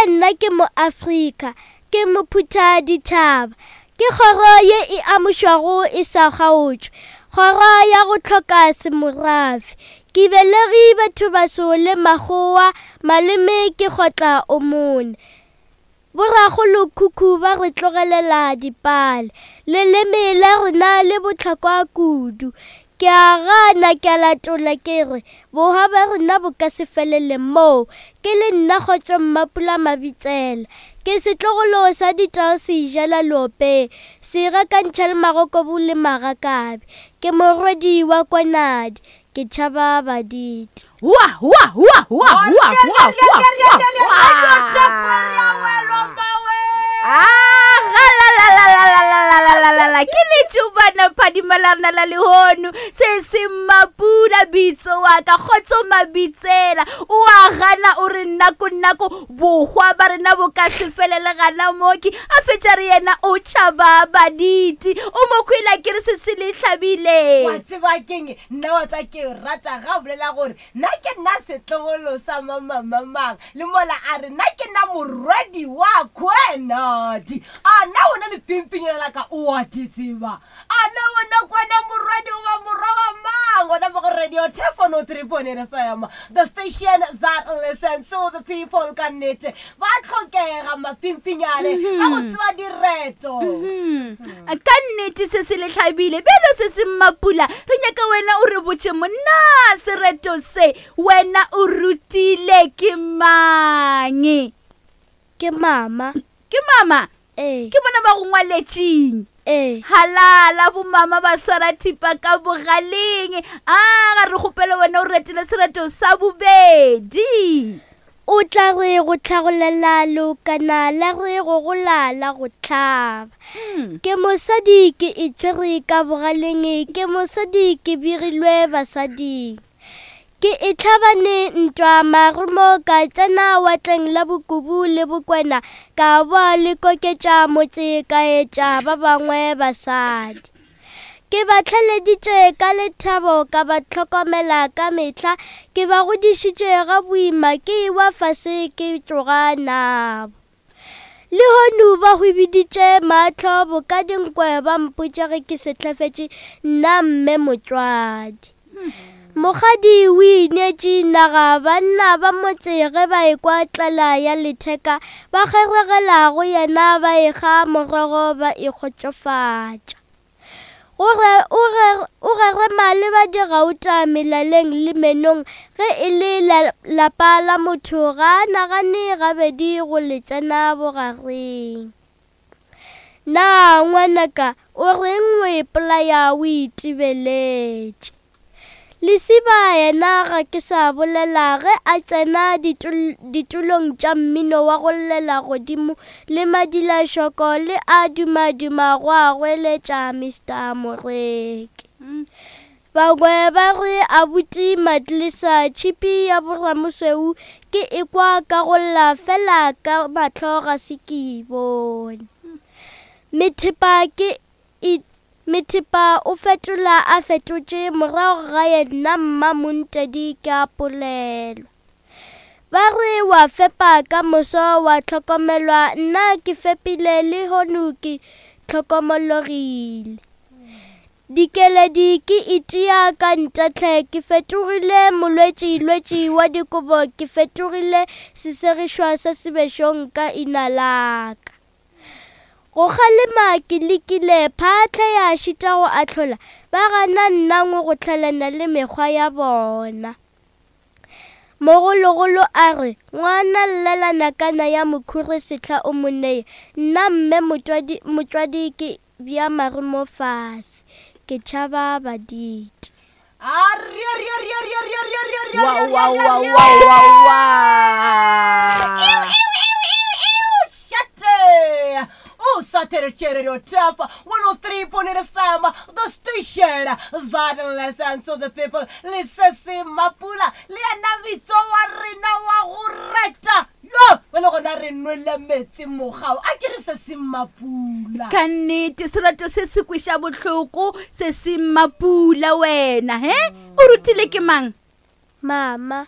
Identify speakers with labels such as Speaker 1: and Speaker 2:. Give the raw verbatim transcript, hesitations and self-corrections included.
Speaker 1: Fela nna ke Moafrika, ke mophutha dithaba. Ke kgoro ye e amušwago e sa kgaotšwe, kgoro ya go hloka semorafe. Ke belegi batho baso le makgowa, maleme ke kgotla o mone. Borakgolokhukhu ba re tlogelela dipale, leleme la rena le bohlokwa kudu. Ke a gana ke a latola ke re bohwa ba rena bo ka se felele moo. Ke le nna Kgotso Mmapula Mabitsela, ke setlogolo sa ditao se ijela leopeng, se gakantšha le magokobu le magakabe. Ke morwedi wa Kwanadi, ke tšhaba baditi.
Speaker 2: Wa wa wa wa wa wa wa wa. Ah, la la la la la la la la la la ke letšobana phadima la rena la lehono se se Mmapula bitso wa ka Kgotso Mabitsela o a gana o re nako nako bohwa ba rena bo ka se felele gana moki a fetša re yena o tšhaba baditi o mo kwela ke re se se le hlabile
Speaker 3: wa tseba keng nna wa tsa ke rata ga bolela gore nna ke nna setlogolo sa mamamamang le mola a re nna ke nna morwedi wa Kwenadi a na wena lepimpinyana la ka o a di tseba a na wena kwana morwedi goba morwa wa mang gona mo go Radio Telephone three point eight F M, the station that listens to the people. Ka nnete ba tlhokega mapimpinyane ba go tseba direto.
Speaker 2: Hmm. Ka nnete se se le hlabile bjalo se se Mmapula re nyaka wena o re botše monna sereto se wena o rutile ke mang?
Speaker 1: Ke mama.
Speaker 2: Ke mama?
Speaker 1: Ee.
Speaker 2: Ke bona ba go ngwaletšeng?
Speaker 1: Ee.
Speaker 2: Halala bomama ba swara thipa ka bogaleng. A ga re kgopele wena o retele sereto sa bobedi.
Speaker 1: O tla re go tlhagolela leokana la re go gola la go hlaba. Ke mosadi ke itshwere ka bogaleng, ke mosadi ke begilwe basading. Ke e tlhabane ntwa marumo ka tsena watleng la bokubu le bokwena ka boa le koketša motse ka etša ba bangwe basadi. Ke ba tlhaleditše ka lethabo ka ba hlokomela ka mehla, ke ba godišitše ga boima ke ewa fase ke tloga nabo. Lehono ba hwibiditše mahlo boka dinkwe ba mpotša ge ke sehlafetše nna mme motswadi. Mokgadi o ineetše naga banna ba motse ge ba ekwa tlala ya letheka ba kgeregela go yena ba ekga morogo ba ikgotsofatša. Gore o gerema le ba digauta melaleng le menong ge e le lapa la motho ga a nagane gabedi go le tsena bogareng. Na ngwanaka o reng o ipolaya o itebeletše? Lesiba yena ga ke sa bolela ge a tsena ditulong tša mmino wa go llela godimo le madilašoko le a dumaduma go a goeletša Mister Moreki. Bangwe ba re abuti Matlisa tšhipi ya boramosweu ke ekwa ka go lla fela ka mahlo ga se ke e bone. Methepa ke e Methepa o fetola a fetotše morago ga yena mmamontedi ke a polelwa. Ba re wa fepa ka moso wa hlokomelwa nna ke fepile lehono ke hlokomologile. Dikeledi ke itia ka ntahle ke fetogile molwetši-lwetši wa dikobo ke fetogile sesegišwa sa sebešong ka ina la ka. Go kgalema ke lekile phatlha ya šita go ahlola ba gana nnangwe go hlalana le mekgwa ya bona. Mogologolo a re ngwana llela nakana ya mokhuri sehla o mo neye nna mme motswadi motswadi ke bja marumo fase ke tšhaba baditi.
Speaker 3: A re re re re re re re re
Speaker 2: Wa wa wa wa wa wa.
Speaker 3: Shate! Oh, Saturday Radio Tap one oh three point eight F M, the station that listens to the people. Listen, se Mapula, le yena bitso wa rena wa go reta. Yo, wena gona re nwele metsi mogao. A ke re se se Mapula.
Speaker 2: Ka nnete serato se se kweša bohloko se se Mapula wena, he? O rutile ke mang?
Speaker 1: Mama.